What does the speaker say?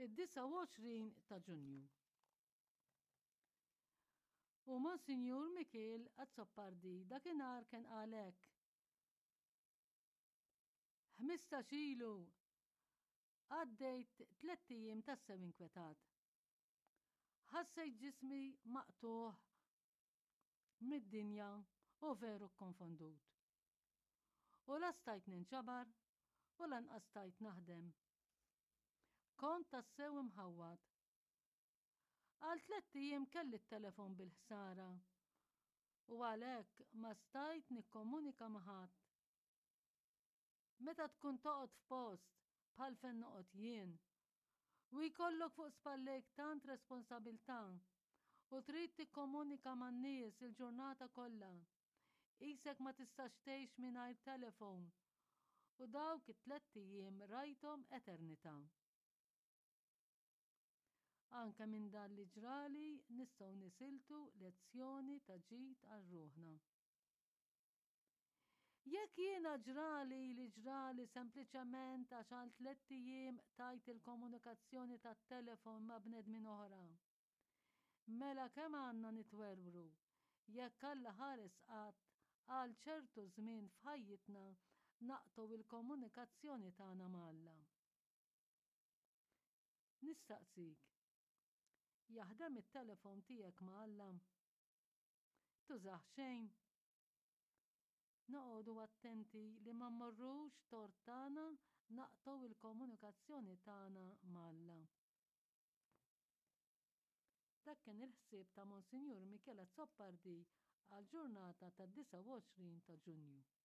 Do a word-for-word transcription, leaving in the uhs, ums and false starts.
Id-disgħa u għoxrin ta' Ġunju. U Monsinjur Mikiel Azzopardi dakinhar kien qal hekk. Ħmistax ilu għaddejt tlett ijiem tassew inkwetat. Ħassejt ġismi maqtugħ mid-dinja u veru kkonfondut. U la stajt ninġabar u lanqas stajt naħdem. Kont tassew imħawwad. Għal tlett ijiem kelli t-telefon bil-ħsara u għalhekk ma stajt nikkomunika ma' ħadd. Meta tkun toqgħod f'post bħal fejn noqgħod jien u jkollok fuq spallejk tant responsabilità u trid tikkomunika man-nies il-ġurnata kollha, qisek ma tistax tgħix mingħajr telefon u dawk it-tlett ijiem rajthom eternità. Anke minn dan li ġrali nistgħu nisiltu lezzjoni ta' ġid għal ruħna. Jekk jiena ġrali li ġrali sempliċement għax għal tlett ijiem qtajt il-komunikazzjoni tat-telefon ma' bnedmin oħra, mela kemm għandna nitwerwru jekk Alla ħares qatt għal ċertu żmien f'ħajjitna naqtgħu il-komunikazzjoni tagħna ma' Alla. Nistaqsik, jaħdem it-telefon tiegħek ma' Alla? Tużah xejn? Noqogħdu attenti li ma mmorrux tort tagħna naqtgħu il-komunikazzjoni tagħna ma' Alla. Dak kien il-ħsieb ta' Monsinjur Michele Azzopardi għal ġurnata tad-disgħa u għoxrin ta' Ġunju.